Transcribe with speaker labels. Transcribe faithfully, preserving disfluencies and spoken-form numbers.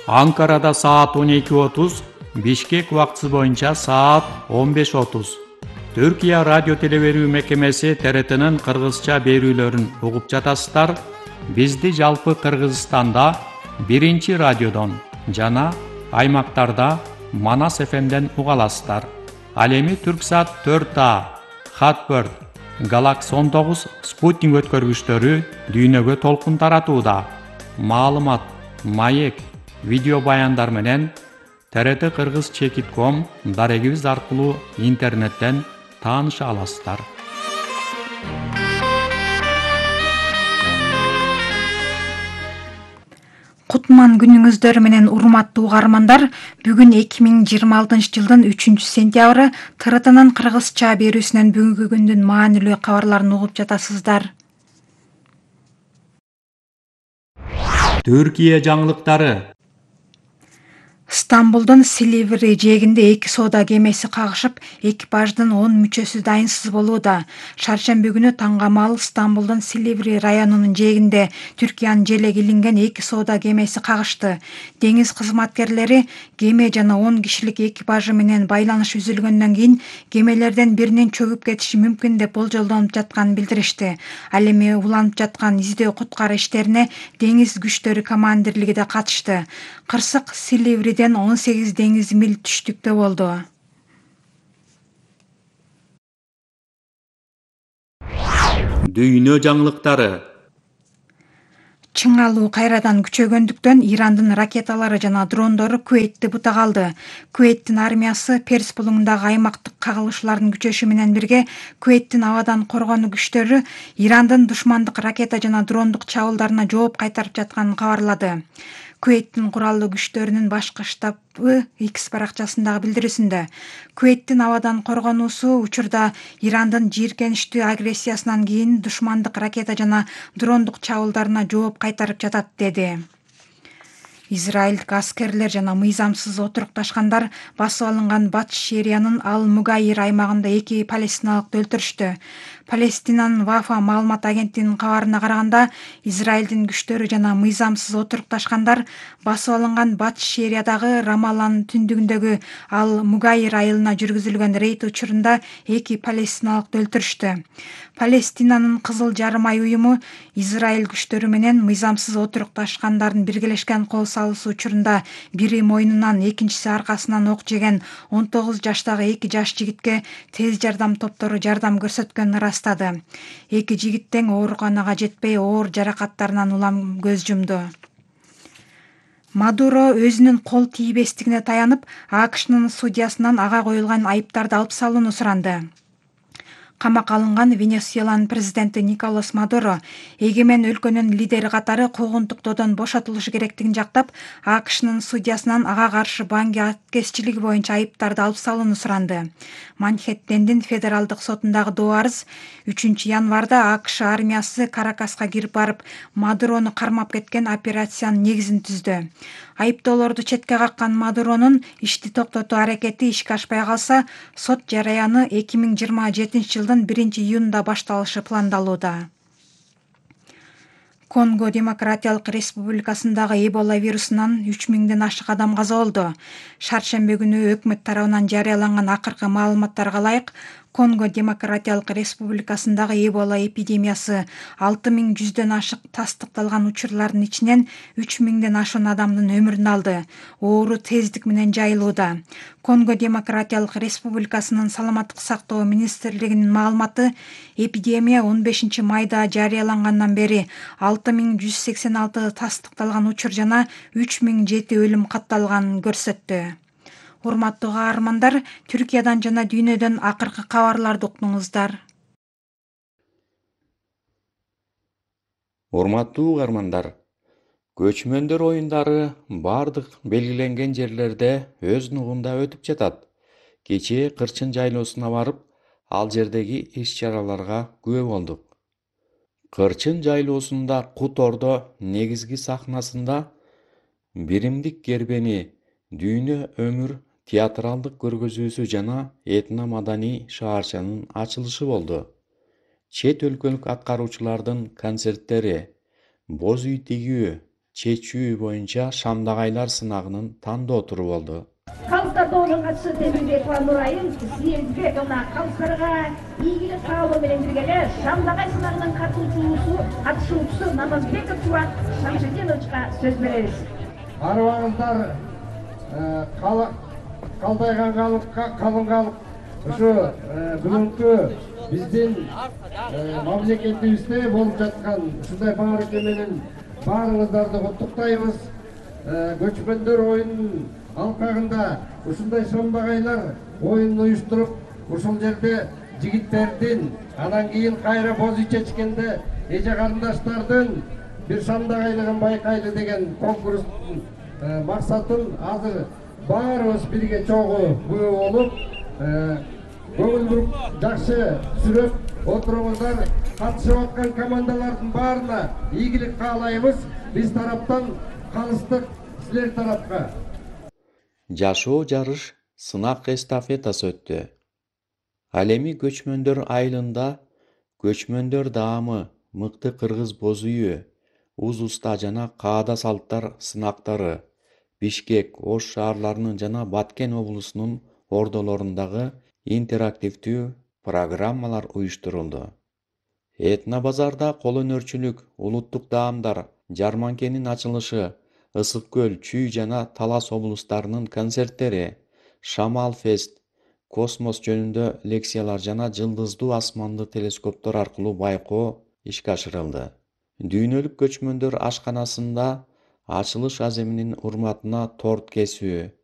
Speaker 1: Анкарада саат он эки отуз, Бишкек убактысы боюнча саат он беш отуз. Түркия радио телеберүү мекемеси Т Р Т'нын кыргызча берүүлөрүн угуп жатасыздар. Бизди жалпы Кыргызстанда биринчи радиодон жана аймактарда Манас Ф M'ден уга аласыздар. Ал эми Түрксат төрт А, Хатбird, Galaxy он тогуз спутник өткөргүчтөрү дүйнөгө толкун таратууда. Маалымат, маек, видео баяндар менен Т Р Т Кыргыз чекит ком дарегибиз аркылуу интернеттен тааныша аласыздар.
Speaker 2: Кутман күнүңүздөр менен урматтуу угармандар, бүгүн эки миң жыйырма алтынчы жылдын үчүнчү сентябры Т Р T'нын кыргызча берүүсүнөн бүгүнкү күндүн маанилүү кабарларын угуп жатасыздар.
Speaker 1: Түркия жаңылыктары.
Speaker 2: Стамбулдун Силиври жээгинде эки соода кемеси кагышып, экипаждын он мүчөсү дайынсыз болууда. Шаршемби күнү таңгамал Стамбулдун Силиври районунун жээгинде Түркиянын желеги илинген эки соода кемеси кагышты. Деңиз кызматкерлери кеме жана он кишилик экипажы менен байланыш үзүлгөндөн кийин кемелерден биринин чөгүп кетиши мүмкүн деп болжолдонуп жатканын билдиришти. Ал эми уланып жаткан издөө куткаруу иштерине деңиз күчтөрү командирлиги да катышты. Кырсык Силивриден он сегиз деңиз миль түштүктө болду.
Speaker 1: Дүйнө жаңылыктары.
Speaker 2: Чыңалуу кайрадан күчөгөндүктөн Ирандын ракеталары жана дрондору Куэйтти бутак алды. Куэйттин армиясы Перс булуңундагы аймактык кагылышлардын күчөшү менен бирге Куэйттин абадан коргонуу күчтөрү Ирандын душмандык ракета жана дрондук чабуулдарына жооп кайтарып жатканын кабарлады. Куэйттин куралдуу күчтөрүнүн башкы штабы X баракчасындагы билдирүүсүндө Куэйттин абадан коргонуусу учурда Ирандын жийиркеничтүү агрессиясынан кийин душмандык ракета жана дрондук чабуулдарына жооп кайтарып жатат деди. Израилдик аскерлер жана мыйзамсыз отурукташкандар басып алынган Батыш Сириянын Ал-Мугайир аймагында эки палестиналыкты өлтүрүштү. Палестинанын Вафа маалымат агенттигинин кабарына караганда, Израилдин күчтөрү жана мыйзамсыз отурукташкандар басып алынган Батыш Сириядагы Рамалланын түндүгүндөгү Ал-Мугайир айылына жүргүзүлгөн рейд учурунда эки палестиналыкты өлтүрүштү. Палестинанын Кызыл жарым ай уюму Израиль күчтөрү менен мыйзамсыз отурукташкандардын биргелешкен кол салуусу учурунда бири мойнунан, экинчиси аркасынан ок жеген он тогуз жаштагы эки жаш жигитке тез жардам топтору жардам көрсөткөнүн ырастады. Эки жигит тең ооруканага жетпей, оор жаракаттарынан улам көз жумду. Мадуро өзүнүн кол тийбестигине таянып, АКШнын судьясынан ага коюлган айыптарды алып салууну суранды. Камакка алынган Венесуэланын президенти Николас Мадуро эгемен өлкөнүн лидери катары куугунтуктоодон бошотулушу керектигин жактап, АКШнын судьясынан ага каршы банги аткезчилиги боюнча айыптарды алып салууну суранды. Манхэттендин федералдык сотундагы доо арыз үчүнчү январда АКШ армиясы Каракаска кирип барып, Мадурону кармап кеткен операциянын негизин түздү. Айыптоолорду четке каккан Мадуронун ишти токтотуу аракети ишке ашпай калса, сот жараяны эки миң жыйырма жетинчи жылдын биринчи июнунда башталышы пландалууда. Конго Демократиялык Республикасындагы Эбола вирусунан үч миңден ашык адам каза болду. Шаршемби күнү өкмөт тарабынан жарыяланган акыркы маалыматтарга ылайык, Конго Демократиялык Республикасындагы Эбола эпидемиясы алты миң жүздөн ашык тастыкталган учурлардын ичинен үч миңден ашуун адамдын өмүрүн алды. Оору тездик менен жайылууда. Конго Демократиялык Республикасынын саламаттык сактоо министрлигинин маалыматы, эпидемия он бешинчи майда жарыялангандан бери алты миң жүз сексен алты тастыкталган учур жана үч миң жети өлүм катталганын көрсөттү. Урматтуу каармандар, Түркиядан жана дүйнөдөн акыркы кабарларды уктуңуздар.
Speaker 1: Урматтуу угармандар, көчмөндөр оюндары бардык белгиленген жерлерде өз нугунда өтүп жатат. Кечээ Кырчын жайлоосуна барып, ал жердеги иш-чараларга күбө болдук. Кырчын жайлоосунда Кут Ордо негизги сахнасында биримдик кербени дүйнө өмүр театралдык көргөзүүсү жана этно маданий шаарчанын ачылышы болду. Чет өлкөлүк аткаруучулардын концерттери, боз үй тигүү, чечүү боюнча Шамдагайлар сынагынын тандоо туру болду.
Speaker 3: Калыстар доонун катчысы Темирбекова Нурайым силерге жана калыстарга ийгилик каалоо менен бирге эле Шамдагай сынагынын катышуучусу катышуучусу Намазбеков Турат Шамшидиновичке сөз беребиз.
Speaker 4: Арыбаңыздар калдайган калыкка калың калык ушу бүгүнкү биздин мамлекетибизде болуп жаткан ушундай баарыгы менен баарыңыздарды куттуктайбыз. Көчмөндөр оюнунун алкагында ушундай Шамдагайлар оюнун уюштуруп, ушул жерде жигиттердин, анан кийин кайра боз чечкенде эже карындаштардын бир Шамдагайлыгын байкайлы деген конкурстун максатын азыр баарыбыз бирге чогуу күбө болуп, көңүл буруп жакшы сүрөп отуруңуздар. Катышып аткан командалардын баарына ийгилик каалайбыз. Биз тараптан калыстык силер тарапка.
Speaker 1: Жашоо жарыш сынак эстафетасы өттү. Ал эми көчмөндөр айылында көчмөндөр даамы, мыкты кыргыз боз үйү, уз уста жана каада салттар сынактары Бишкек, Ош шаарларынын жана Баткен облусунун ордолорундагы интерактивдүү программалар уюштурулду. Этно базарда кол өнөрчүлүк, улуттук даамдар, жарманкенин ачылышы, Ысык көл, Чүй жана Талас облустарынын концерттери, Шамал фест, космос жөнүндө лекциялар жана жылдыздуу асманды телескоптор аркылуу байкоо ишке ашырылды. Дүйнөлүк көчмөндөр ашканасында ачылыш аземинин урматына торт кесүү,